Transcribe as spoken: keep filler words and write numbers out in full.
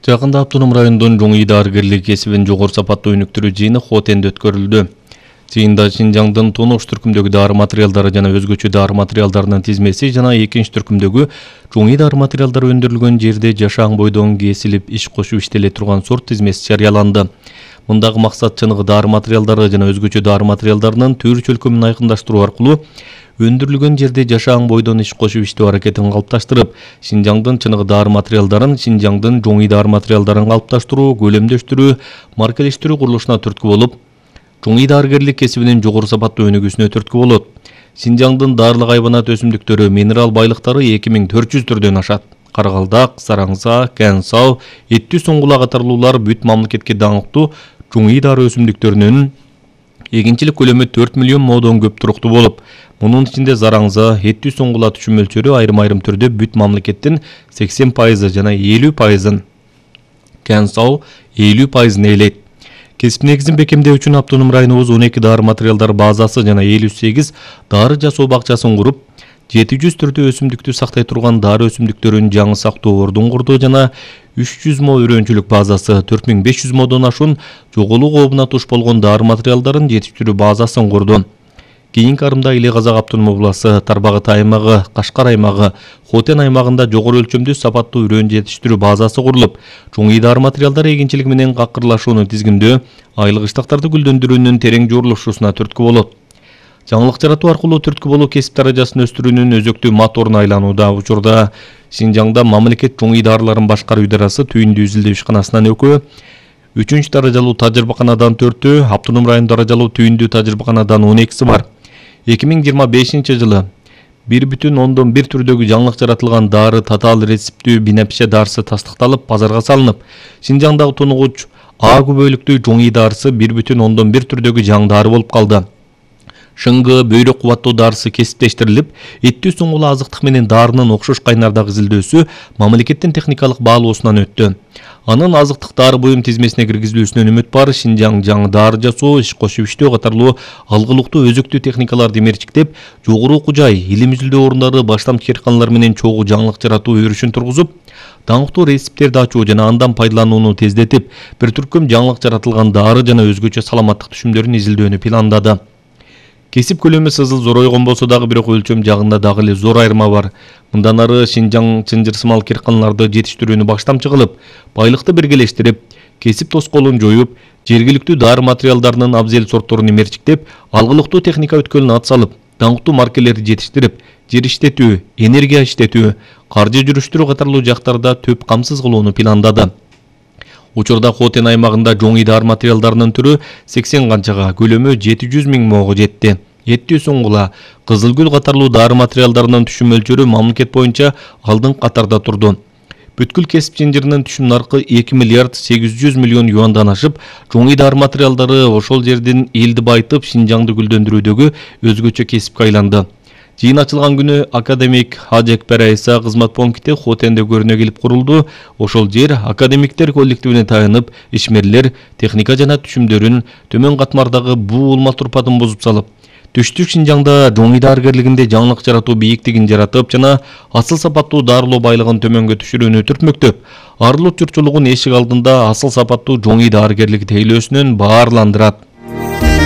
Жакында Автоном районунун жоң дарыгерлик кесибин жогору сапаттуу өнүктүрүү жыйыны Хотенде өткөрүлдү. Жыйында Шинжаңдын тонуш түркүмдөгү дары материалдары жана өзгөчө дары материалдарынын тизмеси жана экинчи түркүмдөгү жоң дары материалдары өндүрүлгөн жерде жашаң бойдон кесилип иш кошуп иштеле турган сорт тизмеси жарыяланды. Мындагы максат чыныгы дары материалдары жана өзгөчө дары материалдарынын төр чөлкөмүн айкындаштыруу аркылуу өндүрүлгөн жерде жашаң бойдон иш кошуп иштөө аракетин калыпташтырып, Шинжаңдын чыныгы дары материалдарын Шинжаңдын жоң дары материалдарын калыпташтыруу, көлөмдөштүрүү, маркалештирүү курулушуна түрткү болуп, жоң дарыгерлик кесибинин жогору сапаттуу өнүгүүсүнө түрткү болот. Шинжаңдын даарылык айбанат өсүмдүктөрү, минерал байлыктары эки миң төрт жүз түрдөн ашат. Каргалдак, сараңса, кэнсау, эттүү соңгула катарлуулар бүт мамлекетке даңктуу жоң дары өсүмдүктөрүнүн эгинчилик көлөмү төрт миллион моодон көп туруктуу болуп, мунун ичинде зараңза, эттүү соңгула түшүм мөлчөрү айрым-айрым түрдө бүт мамлекеттин сексен пайызы жана элүү пайызын, кэнсау элүү пайызын ээлейт. Кесип негизин бекемдөө үчүн Автоном районубуз он эки дары материалдар базасы жана элүү сегиз дары жасоо бакчасын куруп, жети жүз түрдүү өсүмдүктү сактай турган дары өсүмдүктөрүн жаңы сактоо ордун курду жана үч жүз мо өрөөнчүлүк базасы, төрт миң беш жүз модон ашуун жоголуу кообуна туш болгон дары материалдарын жетиштирүү базасын курду. Кийинки арымда Иле Казак автоном обласы, Тарбагат аймагы, Кашкар аймагы, Хотен аймагында жогору өлчөмдүү сапаттуу өрөөн жетиштирүү базасы курулуп, жоң дары материалдары эгинчилиги менен какырлашууну тизгиндөө, айлык ыштактарды гүлдөндүрүүнүн терең журулушуусуна түрткү болот. Жаңылык жаратуу аркылуу түрткү болуу кесип даражасын өстүрүүнүн өзөктүү моторуна айланууда. Учурда Шинжаңда мамлекет жоң дарыларын башкаруу идарасы түйүндүү изилдөө ишканасынан экөө, үчүнчү даражалуу тажрыйбаканадан төртөө, Автоном район даражалуу түйүндүү тажрыйбаканадан он экиси бар. эки миң жыйырма бешинчи жылы бир бүтүн ондон бир түрдөгү жаңылык жаратылган дары татаал рецептүү бинапше дарысы тастыкталып, базарга салынып, Шинжаңдагы тунугуч А күбөлүктүү жоң дарысы бир бүтүн ондон бир түрдөгү жаң дары болуп калды. Шыңгы, бөйрөк кубаттоо дарысы кесиптештирилип, эттүү соңгула азыктык менен дарынын окшош кайнардагы изилдөөсү мамлекеттин техникалык баалоосунан өттү. Анын азыктык дары буюм тизмесине киргизилүүсүнөн үмүт бар. Шинжаң жаңы дары жасоо, иш кошуп иштөө катарлуу алгылыктуу өзөктүү техникаларды мерчиктеп, жогору окуу жай, илим изилдөө орундары, баштамчы ээрканлар менен чогуу жаңылык жаратуу өрүшүн тургузуп, даңктуу рецепттерди ачуу жана андан пайдаланууну тездетип, бир түркүм жаңылык жаратылган дары жана өзгөчө саламаттык түшүмдөрүн изилдөөнү пландады. Кесип көлөмү сызыл зоройгон болсо дагы бирок өлчөм жагында дагы эле зор айырма бар. Мындан ары Шинжаң чынжырсымал кирканларды жетиштирүүнү баштамчы кылып, байлыкты биргелештирип, кесип тоскоолун жоюп, жергиликтүү дары материалдарынын абзел сортторун мерчиктеп, алгылыктуу техника өткөлүнө ат салып, даңктуу маркелерди жетиштирип, жер иштетүү, энергия иштетүү, каржы жүрүштүрүү катарлуу жактарда төп камсыз кылууну пландады. Учурда Хотен аймагында жоң дары материалдарынын түрү сексен канчага, көлөмү жети жүз миң моого жетти. Эттүү соңгула, кызыл гүл катарлуу дары материалдарынын түшүм мөлчөрү мамлекет боюнча алдыңкы катарда турду. Бүткүл кесип жинжиринин түшүм наркы эки миллиард сегиз жүз миллион юандан ашып, жоң дары материалдары ошол жердин элди байытып, Шинжаңды гүлдөндүрүүдөгү өзгөчө кесипке айланды. Жыйын ачылган күнү академик Хажекпер Айса кызмат пункти Хотенде көрүнө келип курулду. Ошол жер академиктер коллективине таянып, ишмерлер техника жана түшүмдөрүн төмөн катмардагы буу улма турпатын бузуп салып, түштүк Шинжаңда жоң дарыгерлигинде жаңылык жаратуу бийиктигин жаратып жана асыл сапаттуу дарылоо байлыгын төмөнгө түшүрүүнү түртмөктөп, арылуу журтчулугун эшик алдында асыл сапаттуу жоң дарыгерлик тейлөөсүнөн баарландырат.